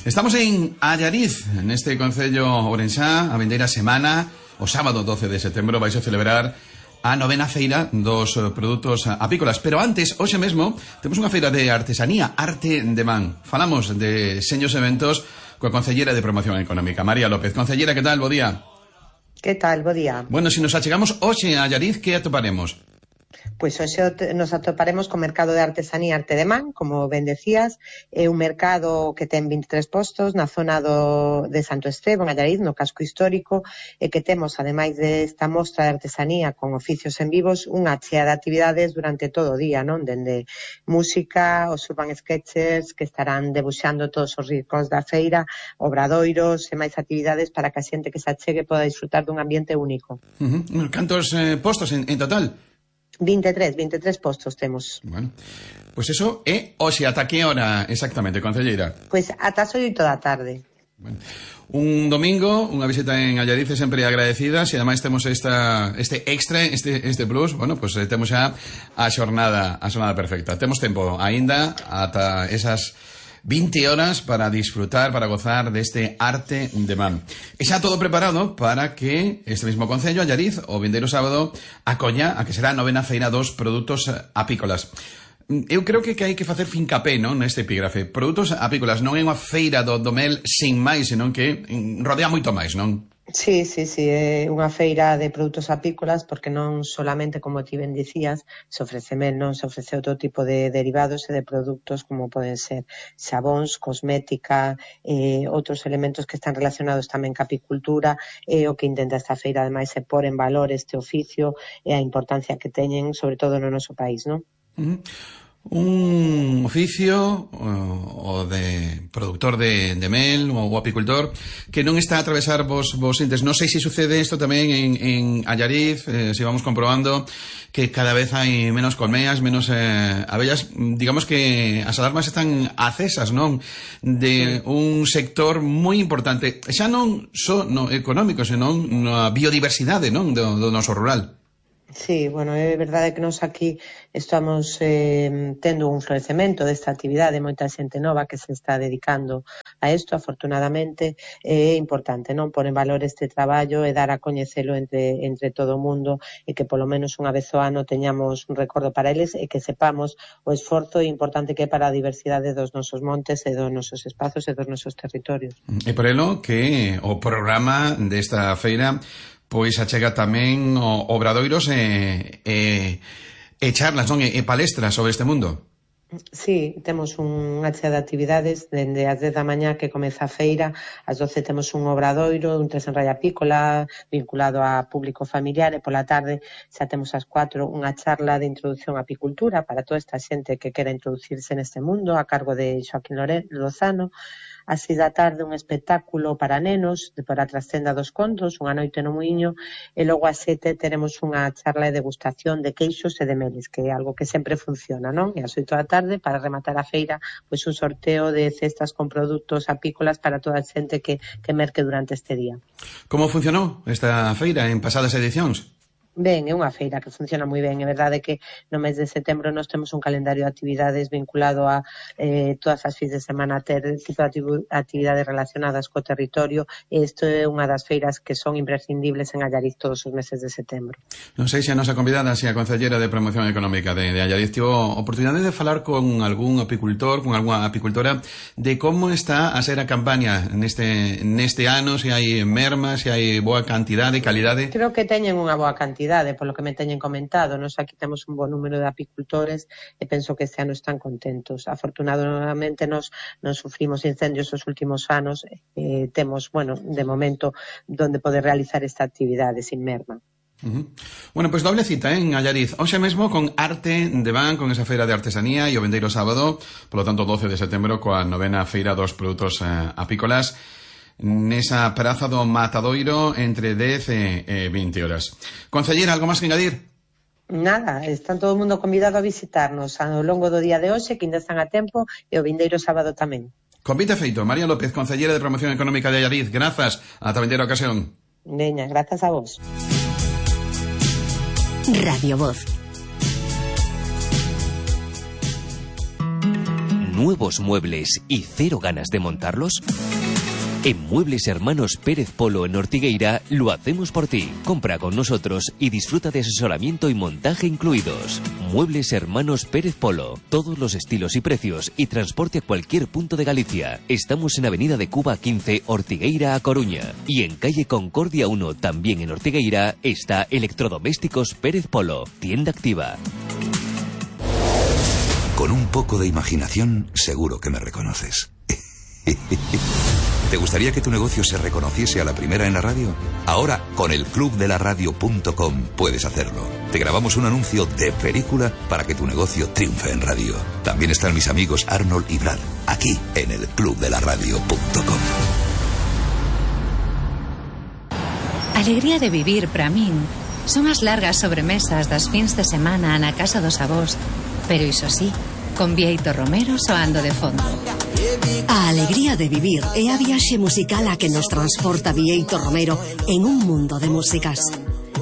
Estamos en Allariz, neste concello ourensá, a vindeira semana, o sábado 12 de setembro, vais a celebrar a novena feira dos produtos apícolas. Pero antes, hoxe mesmo, temos unha feira de artesanía, arte de man. Falamos de seños eventos coa concellera de Promoción Económica, María López. Concellera, que tal? Bo día. Que tal? Bo día. Bueno, se nos achegamos hoxe a Allariz, que atoparemos? Pois hoxe nos atoparemos co mercado de artesanía Arte de Man, como ben decías, é un mercado que ten 23 postos na zona de Santo Esteban, Allariz, no casco histórico, e que temos, ademais desta mostra de artesanía con oficios en vivos, unha chea de actividades durante todo o día, non? Dende música, os urban sketchers que estarán debuxando todos os rincóns da feira, obradoiros e máis actividades para que a xente que se achegue poda disfrutar dun ambiente único. Cantos postos en total? 23 postos temos. Bueno, pois eso é hoxe, ata que hora exactamente, concelleira? Pois ata as 8 da tarde. Bueno, un domingo, unha visita en Allariz é sempre agradecida, e ademais temos este extra, este plus, bueno, pois temos xa a xornada perfecta. Temos tempo aínda ata esas 20 horas para disfrutar, para gozar deste arte de man. E xa todo preparado para que este mismo concello, Allariz, o vindeiro sábado, acolla a que será a novena feira dos produtos apícolas. Eu creo que hai que facer fincapé, non, neste epígrafe. Produtos apícolas non é unha feira do mel sin máis, senón que rodea moito máis, non? Sí, é unha feira de produtos apícolas porque non solamente, como ti ben dicías, se ofrece mel, non se ofrece outro tipo de derivados e de produtos como poden ser xabóns, cosmética, outros elementos que están relacionados tamén ca apicultura, o que intenta esta feira ademais é pôr en valor este oficio e a importancia que teñen, sobre todo no noso país, non? Un oficio o de productor de mel ou apicultor que non está a atravesar vos entes. Non sei se sucede isto tamén en Allariz, se vamos comprobando que cada vez hai menos colmeas, menos abellas. Digamos que as alarmas están acesas, non? De un sector moi importante, xa non só no económico, senón na biodiversidade, non? Do noso rural. Sí, bueno, é verdade que nos aquí estamos tendo un florecemento desta actividade, moita xente nova que se está dedicando a isto, afortunadamente, é importante, non? Pôr en valor este traballo e dar a coñecelo entre todo o mundo e que polo menos unha vez ao ano teñamos un recordo para eles e que sepamos o esforzo importante que é para a diversidade dos nosos montes e dos nosos espazos e dos nosos territorios. E por elo que o programa desta feira pois achega tamén obradoiros e charlas, non? E palestras sobre este mundo. Sí, temos unha chea de actividades dende as 10 da mañá que comeza a feira, ás 12 temos un obradoiro, un tres en raya apícola vinculado a público familiar e pola tarde xa temos ás 4 unha charla de introducción á apicultura para toda esta xente que quera introducirse neste mundo a cargo de Xoaquín Lozano. Ás 6 da tarde un espectáculo para nenos para a trascenda dos contos, unha noite no Muiño, e logo ás 7 teremos unha charla de degustación de queixos e de meles, que é algo que sempre funciona, non? E ás 8 da tarde, para rematar a feira, pois un sorteo de cestas con produtos apícolas para toda a xente que merque durante este día. Como funcionou esta feira en pasadas edicións? Ben, é unha feira que funciona moi ben. É verdade que no mes de setembro nós temos un calendario de actividades vinculado a todas as fins de semana ter tipo de actividades relacionadas co territorio e isto é unha das feiras que son imprescindibles en Allariz todos os meses de setembro. Non sei se a nosa convidada, se a concellera de Promoción Económica de Allariz tivo oportunidade de falar con algún apicultor, con algunha apicultora de como está a ser a campaña neste ano, se hai merma, se hai boa cantidade, calidade. Creo que teñen unha boa cantidade, polo que me teñen comentado. Nos aquí temos un bo número de apicultores e penso que este ano están contentos. Afortunadamente nos non sufrimos incendios os últimos anos e temos, bueno, de momento donde poder realizar esta actividade sin merma. Bueno, pois doble cita en Allariz hoxe mesmo con arte de man, con esa feira de artesanía e o vindeiro sábado, polo tanto 12 de setembro, coa novena feira dos produtos apícolas nesa praza do Matadoiro entre 10 e 20 horas. Concellera, algo máis que engadir? Nada, están todo o mundo convidado a visitarnos ao longo do día de hoxe, que ainda están a tempo, e o vindeiro sábado tamén. Convite feito. María López, concellera de Promoción Económica de Allariz. Grazas. Ata a vindeira ocasión. Veña, grazas a vos. Radio Voz. ¿Nuevos muebles y cero ganas de montarlos? En Muebles Hermanos Pérez Polo en Ortigueira lo hacemos por ti. Compra con nosotros y disfruta de asesoramiento y montaje incluidos. Muebles Hermanos Pérez Polo. Todos los estilos y precios y transporte a cualquier punto de Galicia. Estamos en Avenida de Cuba 15, Ortigueira a Coruña. Y en calle Concordia 1, también en Ortigueira, está Electrodomésticos Pérez Polo. Tienda activa. Con un poco de imaginación, seguro que me reconoces. ¿Te gustaría que tu negocio se reconociese a la primera en la radio? Ahora, con el clubdelaradio.com puedes hacerlo. Te grabamos un anuncio de película para que tu negocio triunfe en radio. También están mis amigos Arnold y Brad, aquí en el clubdelaradio.com. Alegría de vivir para min son as largas sobremesas das fins de semana na casa dos avós, pero iso sí, con Bieito Romero soando de fondo. A alegría de vivir é a viaxe musical a que nos transporta Bieito Romero en un mundo de músicas.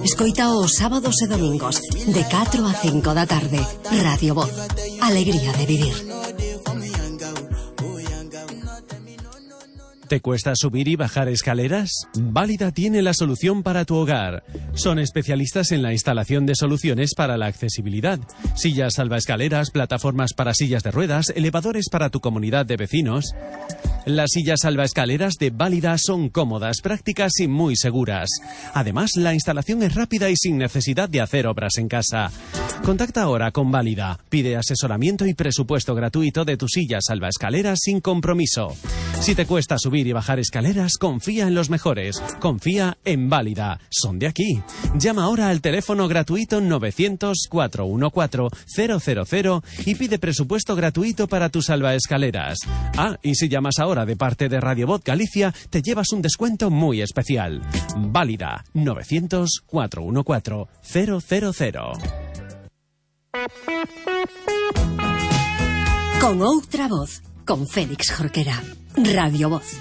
Escoita os sábados e domingos de 4 a 5 da tarde. Radio Voz. Alegría de vivir. ¿Te cuesta subir y bajar escaleras? Válida tiene la solución para tu hogar. Son especialistas en la instalación de soluciones para la accesibilidad. Sillas salvaescaleras, plataformas para sillas de ruedas, elevadores para tu comunidad de vecinos. Las sillas salvaescaleras de Válida son cómodas, prácticas y muy seguras. Además, la instalación es rápida y sin necesidad de hacer obras en casa. Contacta ahora con Válida. Pide asesoramiento y presupuesto gratuito de tu silla salvaescaleras sin compromiso. Si te cuesta subir y bajar escaleras, confía en los mejores. Confía en Válida. Son de aquí. Llama ahora al teléfono gratuito 900-414-000 y pide presupuesto gratuito para tus salvaescaleras. Ah, y si llamas ahora de parte de Radio Voz Galicia, te llevas un descuento muy especial. Válida. 900-414-000. Con outra voz, con Félix Jorquera. Radio Voz.